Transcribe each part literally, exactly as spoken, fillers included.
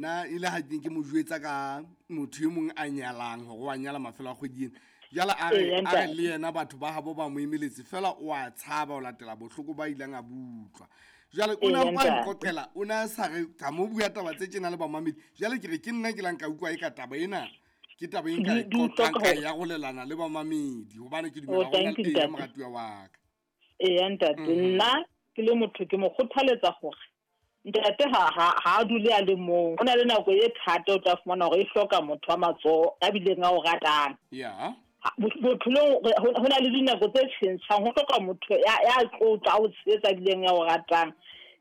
Na ile ha ke ke mo jwetsa ka motho e mong a nyalang hore wa nyala mafelo a kgwedi ena. Jwale a re Eya, a re ntate. le yena batho ba habo ba mo emeletse fela o a tshaba ho latela bohloko ba ileng a butlwa. Jwale o na Eya, mpa ntate. nqoqela o na sa re ka mo bua taba tse tjena le bamamedi. Jwale ke re ke nna ke lang ka utlwa e ka taba ena ke taba e nka Di e di o qoqang hloka ka hore e arolelana le bamamedi hobane ke dumela Oh, hore thank you, e ntate. moratuwa wa ka. Eya ntate, Mhm. nna ke le motho ke mo kgothaletsa hore ntate ha ha ha a dule a le mong. Ho na le nako e thata o tla fumana hore e hloka motho wa matsoho a bileng a o ratang. Ya. Ha- bo- Bophelong re- ho ho na le dinako tse tjhentjhang, ho hloka motho ya ya tlo tla o tshehetsa a bileng ya o ratang.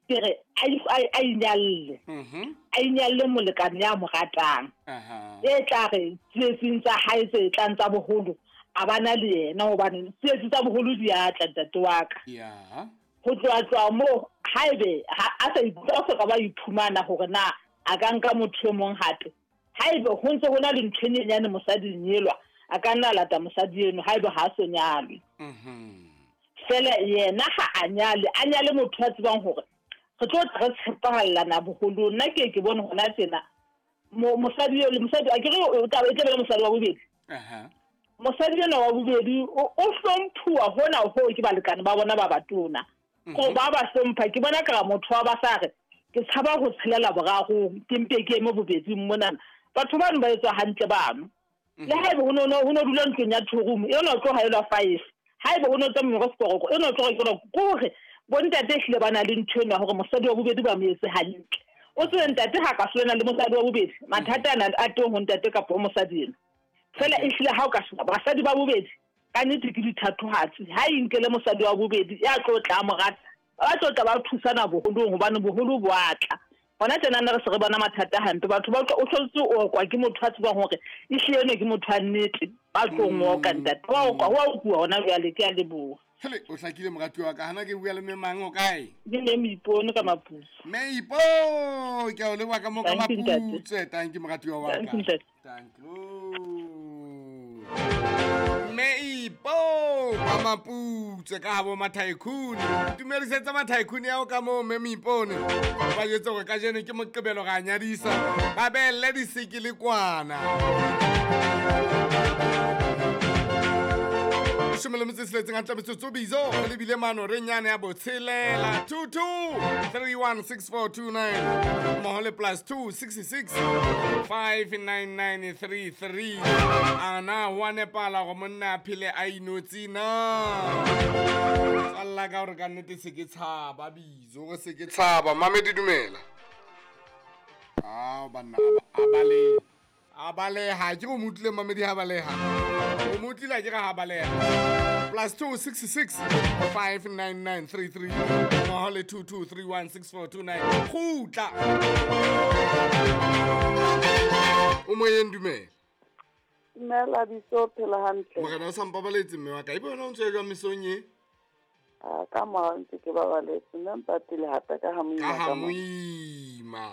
Ke re a i- a a inyalle, Mhm. a inyalle molekane ya mo ratang. Aha. E tla re tsietsing tsa hae tse tlang tsa boholo a bana le yena hobane tsietsi tsa boholo di a tla ntate wa ka. Ya. Ho tloha tloha moo haebe ha a sa ikutlwa a soka ba iphumana hore na a ka nka motho e mong hape. Haebe ho ntse ho na le ntho e nyenyane mosading elwa, a ka nna a lata mosadi eno haebe ha a so nyalwe. Mhm. Feela yena ha a nyale, a nyale motho a tsebang hore re tlo tla re tshepahallana boholong. Nna ke ye ke bone hona tjena mo mosadi eo le mosadi akere o tla e tla be le mosadi wa bobedi. Aha. Mosadi enwa wa bobedi o o hlomphuwa hona hoo ke balekane ba bona ba batona. Ko ba ba hlompha ke bona ka motho wa ba sa re ke tshaba ho tshelela borarong ke mpe ke eme bobeding monana. Batho bano ba etswa hantle bano. Le haebe ho no no ho no dula ntlong ya two room eno o tlo haelwa five. Haebe ho no tsamaya ka sekorokoro eno o tlo rekelwa ke hore bontate ehlile ba na le ntho eno ya hore mosadi wa bobedi ba mo etse hantle. O tsebe ntate ha ka hlolana le mosadi wa bobedi mathata ana a teng ho ntate kapa ho mosadi eno. Feela ehlile ha o ka sheba basadi ba bobedi ka nnete ke dithatohatsi. Ha e nkele mosadi wa bobedi ya tlo tla mo rata, ba tlo tla ba thusana boholong hobane boholo bo a tla. Hona tjenana re se re bona mathata hampe batho ba utlwa o hlotse o okwa ke motho a tsebang hore ehlile eno ke motho wa nnete ba tlo ngoka ntate. Wa okwa ho a okuwa hona jwale ke a leboha. Hele o hlakile moratuwa wa ka hana ke bua le mme mang o kae? Ke mme Moipone ka Maputswe. Mme Ipo ke a o leboha ka moo ka Thank you, ntate. Maputswe. Thank you moratuwa wa Thank ka. you, ntate. Thank you. Mme Ipo ka Maputswe ka habo Mathaekhuni. Tumedisetsa Mathaekhuni ao ka moo mme Moipone. Ba jwetse hore kajeno ke Moqebelo ra nyadisa. Ba behelle disekele kwana. Leshome le metso e tsheletseng hantle metsotso bizo re lebile mano re nyane ya botshelela two two three one six four two nine mmoho le plus two sixty six five nine nine three three. Ana ho a nepala hore monna a phele a inotse na? Tswalla ka hore ka nnete se ke tshaba bizo, hore se ke tshaba. Mamedi dumela. Ao banna a baleha. A baleha ke go mo utlwile Mamedi ha baleha. O mo utlwile a ke re ha baleha. Plus two six six five nine nine three three mmoho le two two three one six four two nine. Kgutla. O moyeng dumela. Dumela Biso, phela hantle. Morena o sa mpabaletse mme wa ka. Ebe wena o ntse o jwang mesong e? Ah, ka morao ntse ke babaletse, mme mpatile hape ka ha moima Ka ha ka mo. moima.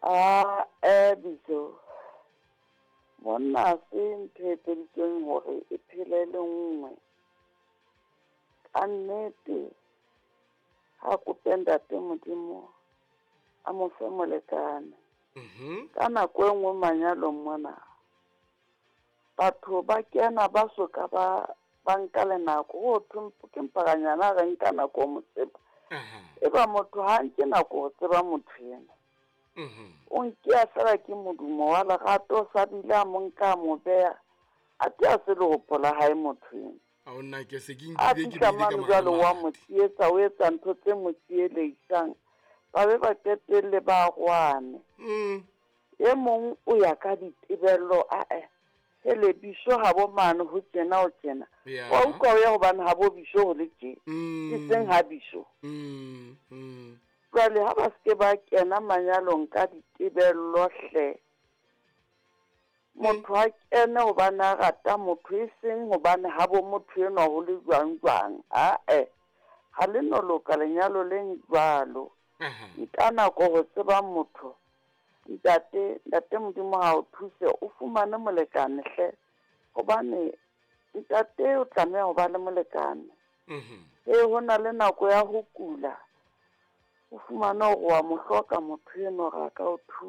Ah, eh, Biso. Monna se ntho e etseditsweng hore e phele le nngwe. Ka nnete, ha kope ntate Modimo a mo fe molekane. Mhm. Ka nako e nngwe manyalong mona, batho ba kena ba soka ba, ba nka le nako. Ho thwe ke mpakanyana re nka nako ho mo tseba. Aha. Eba motho ha nke nako ho tseba motho ena. Mhm. O nkea fela ke modumo wa lerato, o sa bile a mo nka a mo beha. A te a se le hopola hae motho ena. A o nna ke se ke A nkile ke fihla bile ka mane jwale wa mara mo tsietsa, o etsa ntho tse mo tsieleisang. Ba be ba qetelle ba rwane. Mm. E mong o ya ka ditebello, a-eh, hele Biso ha bo mane ho tjena ho tjena. Ya. Wa utlwa o ya hobane ha bo Biso ho le tje. Mm. E seng ha Biso. Mm, mm. Jwale ha ba se ke ba kena manyalong ka ditebello hle. Motho ha kene hobane a rata motho, e seng hobane ha bo motho enwa ho le jwang jwang. A-eh, ha le no loka lenyalo le jwalo. Aha. Nka nako ho tseba motho. Ntate, ntate Modimo ha o thuse o fumane molekane hle. Hobane ntate o tlameha ho ba le molekane. Mhm. E ho na le nako ya ho kula. O fumane hore wa mo hloka motho enwa hore a ka o thusa.